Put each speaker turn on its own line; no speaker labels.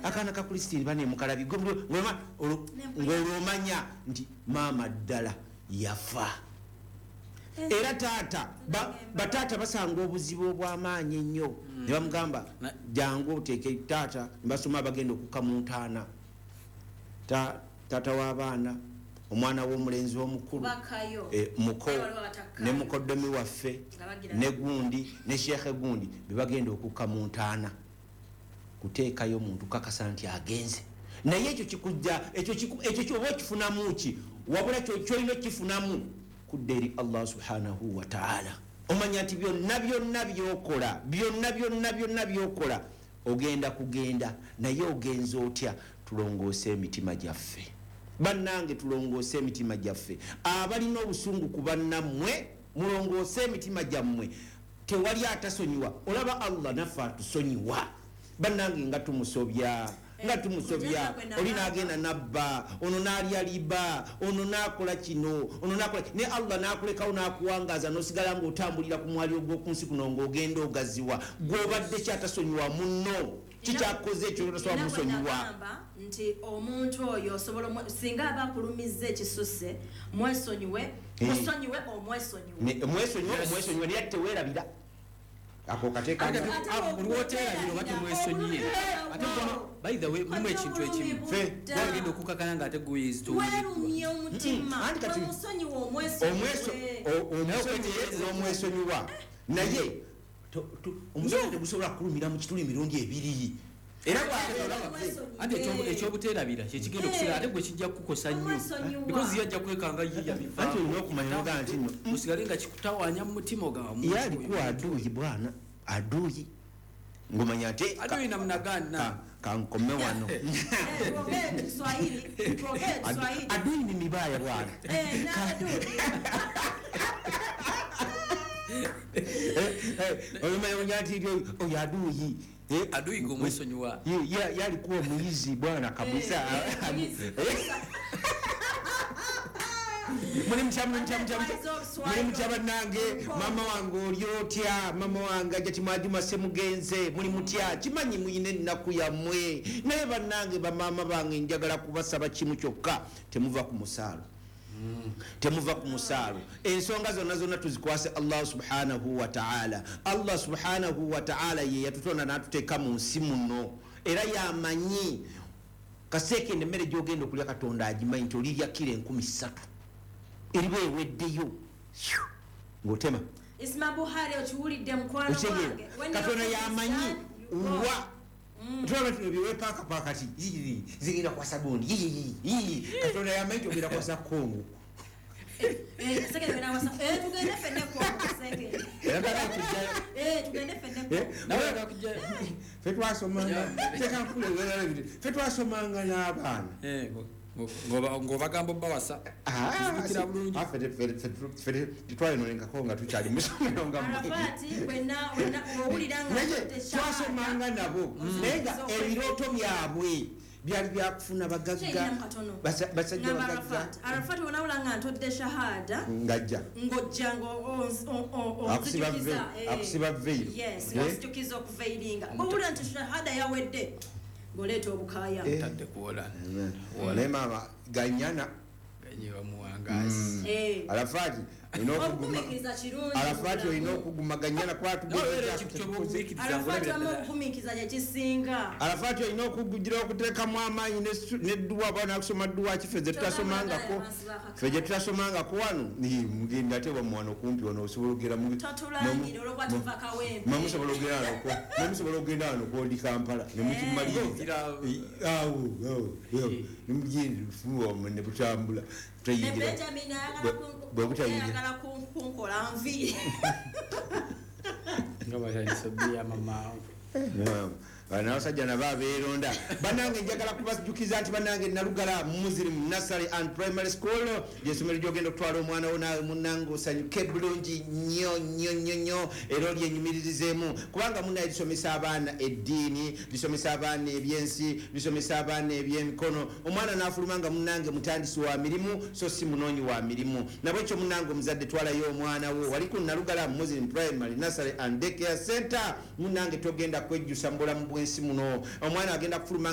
Akaana ka Kristini banemukalabi ng'olwomanya nti maama ddala yafa. Era taata, bataata basanga obuzibu obw'amaanyi ennyo ne bamugamba, "Jangu oteeke taata." Ne basoma abagenda okukka mu ntaana. Taata w'abaana, omwana w'omulenzi omukulu,
Bakayo.
Muko
Waliwo abatakkayo.
ne mukoddomi waffe
Nga bagira
ne gundi ne sheekhe gundi bebagenda okukka mu ntaana kuteekayo muntu kakasa nti agenze. Naye ekyo kikujja, ekyo oba okifunamu ki? Wabula kyolina okifunamu kudda eri Allah subhanahu wataala. Omanya nti byonna byonna byokola, byonna byonna byonna byokola, ogenda kugenda. Naye ogenza otya? Tulongoose emitima gyaffe, bannange, tulongoose emitima gyaffe. Abalina obusungu ku bannammwe, mulongoose emitima gyammwe. Tewali atasonyiwa. Olaba Allah naffe atusonyiwa, bannange, nga tumusobya, nga tumusobya. Oli nagenda nabba, ono nalya liba, ono nakola kino, ono nakola, ne Allah nakulekawo nakuwangaza, nosigala ngaotambulira ku mwali ogwokunsi kuno, ngaogenda ogaziwa. Gwobadde kyatasonyiwa munno, kikyakoze ekyo tosobola musonyiwa.
Nagamba nti omuntu oyo osobola singa aba akulumizza ekisusse, mwesonyiwe. Musonyiwe, omwesonyiwe.
Mwesonyiwe, omwesonyiwe, naye ate teweerabira ako kateeka.
Ate
Buli woteerabira oba temwesonyiye. Ate by the way, mulimu ekintu ekimu.
Ffe,
wagenda okukakana nga ate guyizitowereddwa.
Werumye omutima.
Anti kati
wemusonyiwe, omwesonyiwe.
Omusonyiye n'omwesonyiwa, naye omusonyi tegusobola kukulumira mu kituli emirundi ebiri. Era
Anti ekyobuteerabira kyekigenda okusigala, ate gwe kijja kukukosa nnyo.
Omwesonyiwa.
Because ye ajja kwekanga ye yabiva.
Anti olina okumanya nogaa nti nno
osigale nga kikutawaanya mu mutima, ogamba
ye alikuwa aduyi bwana, aduyi ngomanya nti
Aduyi namna gani?
Kankome wano.
Tuongee Kiswahili, tuongee Kiswahili.
Adui ni mibaya bwana.
Eh, na adui.
Olumanya nti oyo aduyi.
Aduyi gwe omwesonyiwa.
Yalikuwa muyizi bwana kabisa.
Eh, muyizi.
Muli mutya, muli mutya, mutya, mutya? Muli mutya bannange? Mama wange oli otya? Mama wange ajja timwajuma semugenze, muli mutya? Kimanyi muyina ennaku yammwe, naye bannange, bamaama bange, njagala kubasaba kimu kyokka: temuva ku musaalo, temuva ku musaalo. Ensonga zonna zonna tuzikwase Allah subhanahu wataala. Allah subhanahu wataala ye yatutonda n'atuteeka mu nsi muno, era yamanyi kaseekende emmere gyogenda okulya. Katonda agimanyi nti olirya kiro 3000 eriba eweddeyo ng'otema.
Isma Buhari, okiwulidde mukwano
Okitegeera?
wange. When
Katonda
you're
yamanyi
done, you go.
wa tulaba tino byewepaakapaaka ti zigenda kwasa gundi. Katonda yamanyi nti ogenda kwasa Kongo.
Eh, second when I was, tugende ffenna Kongo, second. Tugende ffenna Kongo.
Nawe akakujja.
Fe twasomanga, fe twasomanga n'abaana.
Ng'obagamba obbawasa. Nzijukira bulungi.
Tetwayononekako nga tukyali musomero nga
Arafati, wenna owulira nga
naye
otutte shahada.
Twasomanga nabo, naye nga ebirooto byabwe byali byakufuna bagagga.
Kyeyinamu katono.
Basajja
Ngamba
bagagga.
Arafat, Arafat, wonawula nga ntodde shahada,
ngajja
ng'ojja
Akusiba
onzijukiza,
akusiba veil.
Yes, onzijukiza okuveiringa. Bwowulira nti shahada yawedde, ng'oleeta obukaaya.
Tadde kuwola.
Naye maama ganyana.
Ganyiwa muwangazi.
Arafati olina okuguma.
Obugumiikiriza kirungi.
Arafati olina okuguma, ganyana.
Nawe ekintu kyobugumiikiriza
Arafati,
ng'olabira
wamma
ddala.
obugumiikiriza kyekisinga.
Arafati olina okugugira okuteekamu amaanyi nedduwa ba nakusoma dduwa kife ze tutasomangako, fe gye tutasomangako wano. Mugenda ate wamuwano kumpi wano osobola okugera
Totulangire olwokuba tuva Kawempe.
Mwe musobola okugenda wano mwe musobola okugenda wano kwondi Kampala nemukimaliriza. Awo awo, awo. Nemugenda fumu ne butambula
Ne
tutayingira.
Benjamin ayagala
Bwe butayingira.
ayagala kunkola nvi.
Nga batandise obbiya mamaawe.
Bano abasajja nabo abeeronda. Bannange, njagala kubajjukiza nti bannange, Nalugala Muslim Nursery and Primary School lyesomero gyogenda okutwala omwana wo naawe munnange osanyuke bulungi nnyo nnyo nnyo nnyo, era olyenyumiririzeemu, kubanga munnaye lisomesa abaana eddiini, lisomesa abaana ebyensi, lisomesa abaana ebyemikono. Omwana n'afuluma nga munnange mutandisi wa mirimu, so si munoonyi wa mirimu. Nabwekyo munnange omuzadde, twalayo omwana wo wali ku Nalugala Muslim Primary Nursery and Daycare Center. Munnange, togenda kwejjusa mu bulamu bw'ensi muno. Omwana agenda kufuluma nga